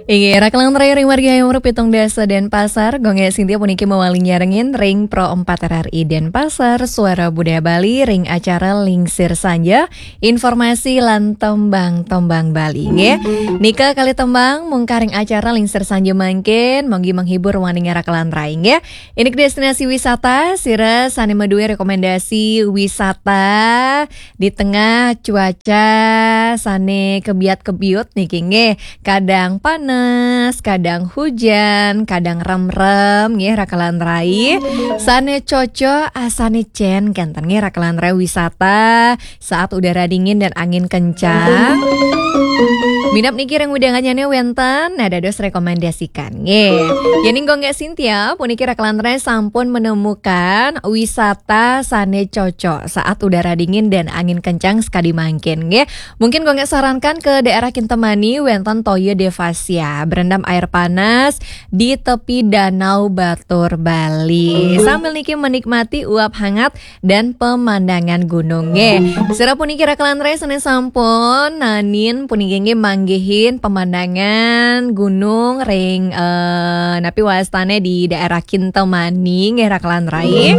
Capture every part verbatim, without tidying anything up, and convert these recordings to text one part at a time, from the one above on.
Inggih, rakelan rai ring wargi Hayam Wuruk pitung dasa Denpasar, Gung Gek Sintia puniki mawaling nyarengin ring Pro empat R R I Denpasar, Suara Budaya Bali, ring acara Lingsir Sanja, informasi lan tembang-tembang Bali, nggih. Nika kalih tembang mungkah ring acara Lingsir Sanja mangkin, manggi menghibur waning rakelan rai, nggih. Indik destinasi wisata, sira sane madue rekomendasi wisata di tengah cuaca sane kebiat-kebiut niki, nggih. Kadang panas, kadang hujan, kadang remrem, nggih, rakelan rai. Sane cocok, ah, sane cen kenten, nggih, rakelan rai, wisata saat udara dingin dan angin kencang. Minab niki ring wewidangan nyane wenten, nah, dados rekomendasikan, nggih. Yening Gung Gek Sintia puniki rakelan rai sampun menemukan wisata sane cocok saat udara dingin dan angin kencang sekadi mangkin, nggih. Mungkin Gung Gek sarankan ke daerah Kintamani, wenten Toya Devasia, berendam air panas di tepi Danau Batur Bali. Sambil niki menikmati uap hangat dan pemandangan gunung, nggih. Sira puniki rakelan rai sane sampun naenin puniki, nggih, manggihin pemandangan gunung ring, eh, napi wastane di daerah Kintamani, nggih, rakelan rai.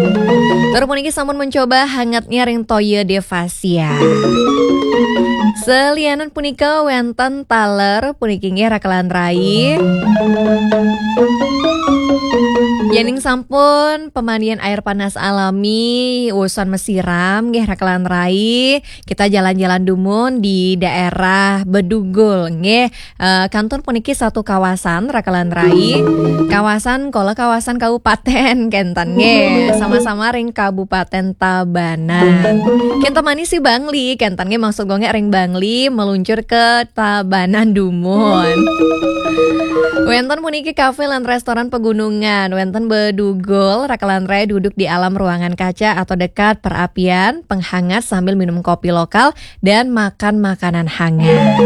Tur puniki sampun mencoba hangatnya ring Toya Devasia. Selianan punika wenten taler puniki, nggih, rakelan rai. Yening sampun pemandian air panas alami, wusan masiram, nggih, rakelan rai, kita jalan-jalan dumun di daerah Bedugul, nggih. Eh, kantun puniki satu kawasan, rakelan rai. Kawasan kala kawasan kabupaten kenten, nggih. Sama-sama ring Kabupaten Tabanan. Kintamani sih Bangli, kenten, nggih, maksud Gung Gek ring Bangli meluncur ke Tabanan dumun. Wenten puniki kafe lan restoran pegunungan, wenten Bedugul, rakelan rai, duduk di alam ruangan kaca atau dekat perapian penghangat sambil minum kopi lokal dan makan makanan hangat.